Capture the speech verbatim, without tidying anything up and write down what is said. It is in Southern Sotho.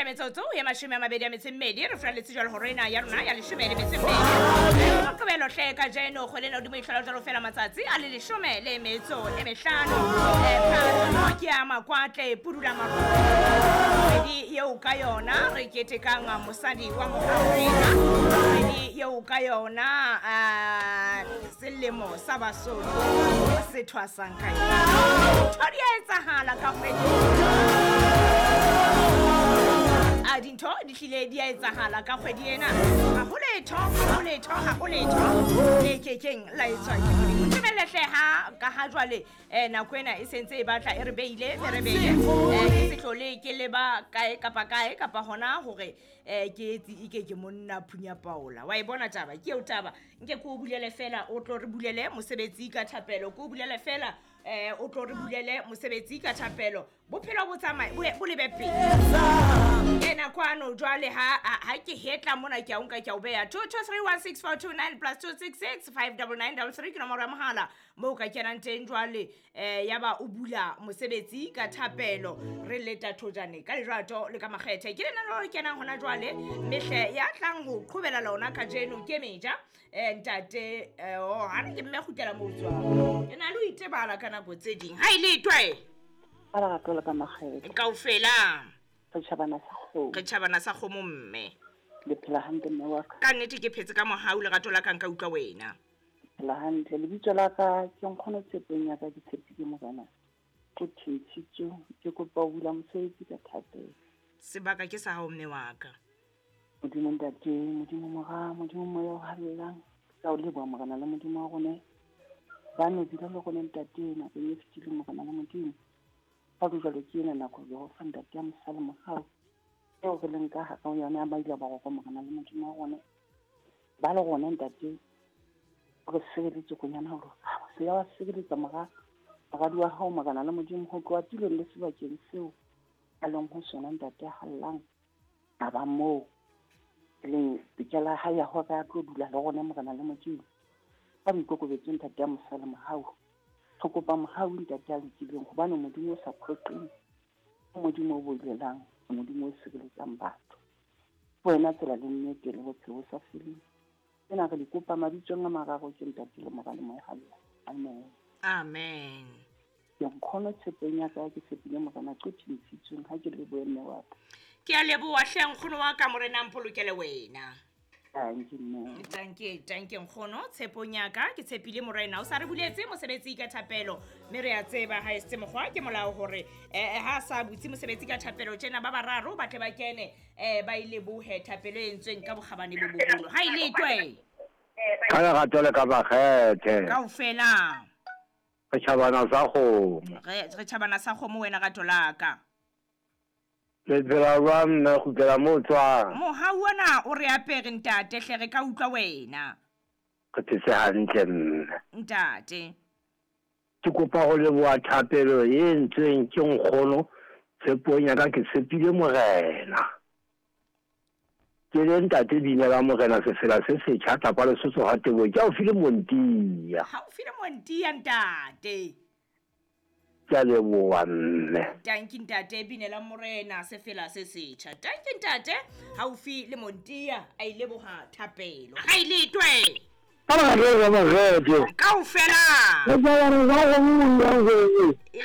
Metsotso ya mashome a mabedi a metso e mmedi re furaletse jwalo hore ena ya rona ya leshome le metso e mmedi moqebelo hle kajeno kgwele ena hodimo e hlola jwalo fela matsatsi a le leshome le metso e mehlano. Eh, Phato ke ya makwatle pudula kgwedi eo ka yona re ketekang mosadi wa Moafrika, kgwedi eo ka yona ah, selemo sa Basotho se thwasang ka yona. Ntho di a etsahala ka kgwedi a dintho di hlile di a etsahala ka kgwedi ena. Ha ho letho, ha ho letho, ha ho letho le kekeng la etswa ke Modimo. Ntumelle hle ha ka ha jwale eh, nako ena e sentse e batla e re beile ferebele, eh, ke se hlole ke leba kae kapa kae kapa hona hore eh, ke etse ike ke monna phunya paola. Wa e bona taba ke eo taba, nke ke o bulele fela o tlo re bulele mosebetsi ka thapelo, ke o bulele fela eh, o tlo re bulele mosebetsi ka thapelo. Bophelo bo tsamaye bo bo lebe pele. Kena kwano jwale ha ha ha ke hetla mona ke a o nka ke a o beha two two three one six four two nine plus two six six five double nine double three ke nomoro ya mohala moo o ka kenang teng jwale eh ya ba o bula mosebetsi ka thapelo re leta thojane ka lerato le ka makgethe. Ke lenaneo le kenang hona jwale mehle ya tlang ho qhobela lona kajeno ke meja eh, ntate eh, oh, ha re ke mme kgutlela moo tswang ke na le ho itebala ka nako tse ding ha e letwe Ka lerato le ka makgethe. Kaofela Re tjhabana sa kgomo. Re tjhabana sa kgomo mme. Le phela hantle mme wa ka. Ka nnete ke phetse ka mohau lerato la ka nka utlwa wena. Phela hantle. Lebitso la ka ke Nkgono Tshepong ya ka ke tshepile Morena. Ke Thintshitso, ke kopa ho bula mosebetsi ka thapelo. Sebaka ke sa hao mme wa ka. Modimo Ntate, Modimo Mora, Modimo Moya o halalelang. Ka o leboha Morena le Modimo wa rona. Ba no dula le rona Ntate nakong e fetileng Morena le Modimo. Ha ho jwalo ke ena nako ya ho fa Ntate ya mosa le mohau. Eo re leng ka hara ho yona ya ba ile ba roko Morena le Modimo wa rona. Ba le rona Ntate re sireletse konyana hore se ya wa sireletsa mora moradi wa hao Morena le Modimo ho tloha tulong le sebakeng seo a leng ho sona Ntate ya hallang a ba moo e leng tokelo ya hae ya hore a tlo dula le rona Morena le Modimo. Ka boikokobetso Ntate ya mosa le mohau. Re kopa mohau Ntate ya lokileng hobane Modimo o sa phoqeng, ke Modimo o bolelang, ke Modimo o sireletsang batho. Ke wena tsela le nnete le bophelo bo sa feleng. Tsena re di kopa mabitsong a mararo ke Ntate le Mora le Moya o Halalelang. Amen. Amen. Ke Nkgono Tshepong ya ka ke tshepile Morena ke Thintshitsweng ha ke lebohe mme wa ka. Ke a leboha hle nkgono wa ka Morena a mpolokele wena. Tanki mme. Tanki, tanki nkgono, tshepong ya ka ke tshepile Morena o sa re buletse mosebetsi ka thapelo mme re a tseba ha e se mokgwa ke molao hore eh, ha sa butse mosebetsi ka thapelo tjena ba bararo ba tle ba kene eh, ba e lebohe thapelo e entsweng ka bokgabane bo boholo. Ha e letwe. Ka lerato le ka makgethe. Kaofela. Re tjhabana sa kgomo. Re re tjhabana sa kgomo wena rato la ka. Le phela jwang mme kgutlela moo tswang? Mohau ona o re apere ntate hle re ka utlwa wena. Re phetse hantle mme. Ntate. Ke kopa ho leboha thapelo e entsweng ke nkgono Tshepong ya ka ke tshepile Morena. Ke le ntate binela Morena sefela se setjha tlapa Lesotho ha Teboho ke haufi le Montia. Haufi le Montia ntate. Ke a leboha mme. Tanki ntate binela Morena sefela se setjha. Tanki ntate haufi le Montia a ile leboha thapelo. Ha ile twe. Ka makgethe. Kaofela. Re tjhabana sa kgomo. Re